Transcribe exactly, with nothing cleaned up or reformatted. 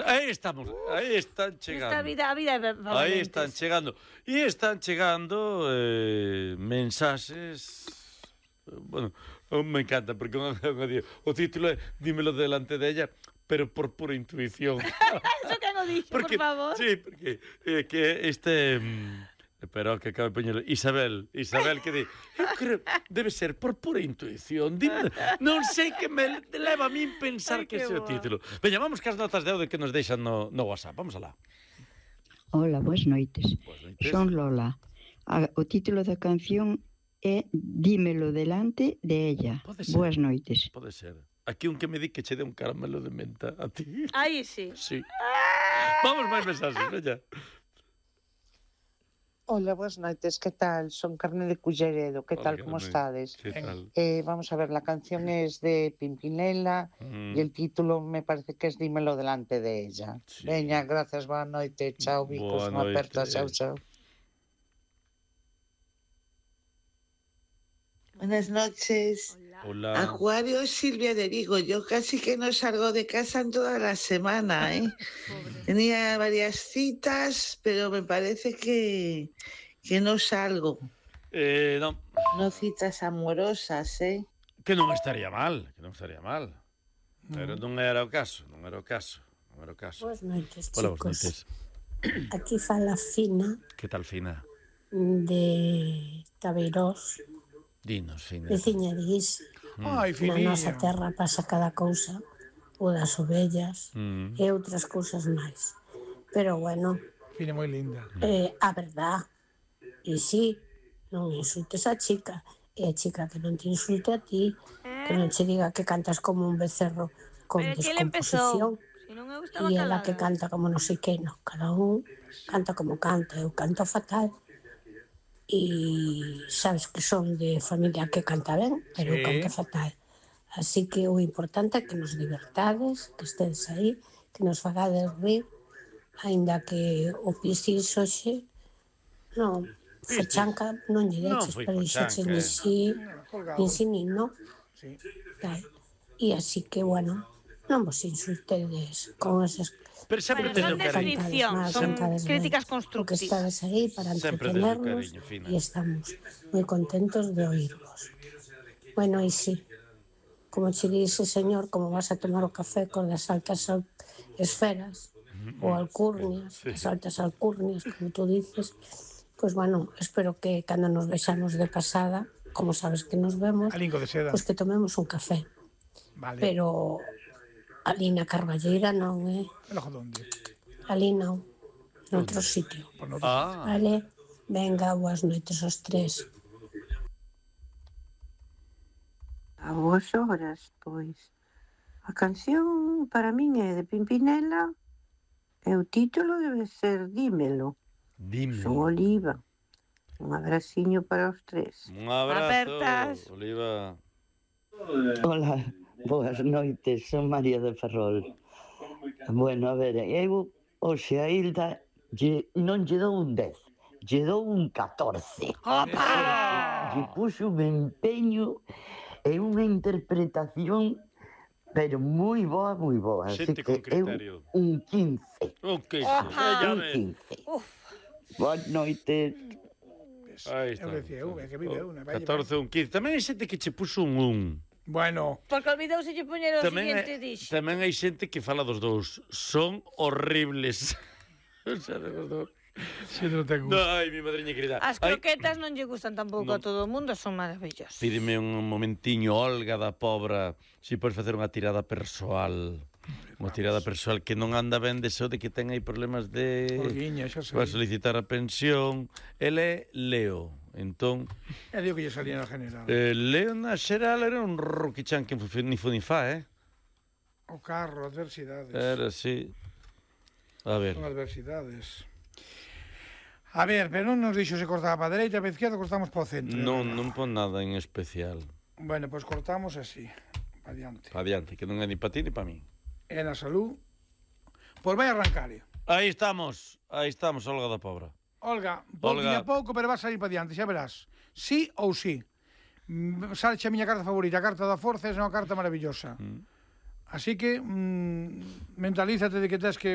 Aí estamos, aí están chegando. Esta vida, a vida é aí están chegando. E están chegando eh, mensaxes... Bueno, me encanta, porque o título é Dímelo delante de ella, pero por pura intuición. Eso que no dixo, por favor. Sí, porque eh, que este... Pero que acaba de poñer Isabel, Isabel que di, eu creo, debe ser por pura intuición. Dime, non sei que me leva a min pensar Ay, que ese é o título. Veña, vamos que as notas de audio que nos deixan no, no WhatsApp. Vamos alá. Hola, boas noites. Boas noites. Son Lola. A, o título da canción é Dímelo delante de ella. Boas noites. Pode ser. Aquí un que me di que che dé un caramelo de menta a ti. Aí sí. Sí. Vamos máis mensaxes, veña. Hola, boas noites, que tal? Son Carne de Culleredo, que Hola, tal, como Carmen. estades? ¿Qué tal? Eh, vamos a ver, la canción es de Pimpinela Mm. y el título me parece que es Dímelo delante de ella. Sí. Veña, gracias, boa noite, chao, Boa bicos, unha noite. aperta, chao, chao. Buenas noches. Hola. Acuario Silvia de Vigo. Yo casi que no salgo de casa en toda la semana, ¿eh? Tenía varias citas, pero me parece que, que no salgo. Eh, non. No citas amorosas, ¿eh? Que non estaría mal, que non estaría mal. Pero non era o caso, non era o caso, non era o caso. Boas noites, Hola, boas chicos. noites. Aquí fala Fina Que tal, Fina? de Tabeirós, Dinos, Fina. veciña de Guis. Ai, Na Finilla. nosa terra pasa cada cousa, o das ovellas Mm. e outras cousas máis. Pero bueno, Fina moi linda. eh, a verdad, e si, non insultes a chica, e a chica que non te insulte a ti, que non che diga que cantas como un becerro con Pero que ele empezou. descomposición. Si non eu estaba E ela calada. que canta como non sei que, no, cada un canta como canta, eu canto fatal. E sabes que son de familia que canta ben, pero Sí. eu canto fatal. Así que o importante é que nos divertades, que estedes aí, que nos fagades rir, aínda que o pisis hoxe, non, fachanca non lle Non deches, foi pero dixeches fachanca, ni eh. si, Colgado. ni si nin non. Sí. Tal. E así que, bueno, non vos insultedes con esas Pero sempre Bueno, teño son cariño. descripción, Mal, son sentadas críticas ben. constructivas. Porque estades aí para Sempre desde o entretenernos cariño, Fina. e estamos moi contentos de oírvos. Bueno, e sí, como che dice, señor, como vas a tomar o café con das altas al- esferas ou alcurnias, Sí. as altas alcurnias, como tú dices, pois, bueno, espero que cando nos vexamos de pasada, como sabes que nos vemos, A lingo de seda. pois que tomemos un café. Vale. Pero ali na Carballeira non, eh? Pero onde? Ali non, noutro sitio. Por no... Ah, Vale, venga, boas noites aos tres. A boas horas, pois. A canción para min é de Pimpinela e o título debe ser Dímelo. Son dime. Oliva. Un abraciño para os tres. Un abrazo, Apertas. Oliva. Hola, boas noites, son María de Ferrol. Bueno, a ver, eu hoxe a Hilda lle, non lle dou un dez, lle dou un catorce. Opa! Lle puxo un empeño e unha interpretación, pero moi boa, moi boa. Así Xente que con criterio. eu un quince, Un queso. Opa! Veña, un ve. quince. Uf. Boas noites. Aí está. Eu decía, eu, é que vive eu, na catorce, un quince. Tamén hai xente que che puxo un un. Bueno, Porque olvidouse de poñer o Tamén siguiente hai, dixo. tamén hai xente que fala dos dous. Son horribles. O sea, de los dous. se non te No, gusta. ai, mi madriña querida. As Ai, croquetas non lle gustan tampouco Non. a todo o mundo, son maravillosas. pídeme un momentiño, Olga da Pobra, si podes facer unha tirada persoal. Unha tirada persoal que non anda ben de so de que ten aí problemas de... Olguiña, xa sei. Vai solicitar a pensión. Ele é Leo. Entón, É digo que lle salía na general. eh, Leo na xeral era un roquichan que ni fu ni fa, eh? O carro, adversidades. Era así. A ver. Son adversidades. A ver, pero non nos dixo se cortaba para a dereita, para a izquierda, cortamos para o centro. Non, non pon nada en especial. Bueno, pois pues cortamos así, para diante. Pa diante, que non é ni para ti ni para mí. E na salud, pois vai arrancar. Aí estamos, aí estamos, Olga da Pobra. Olga, pouquinho Olga. a pouco, pero vas a ir para diante, xa verás. Sí ou sí. Mm, Salche a miña carta favorita, a carta da forza, é unha carta maravillosa. Mm. Así que mm, mentalízate de que tens que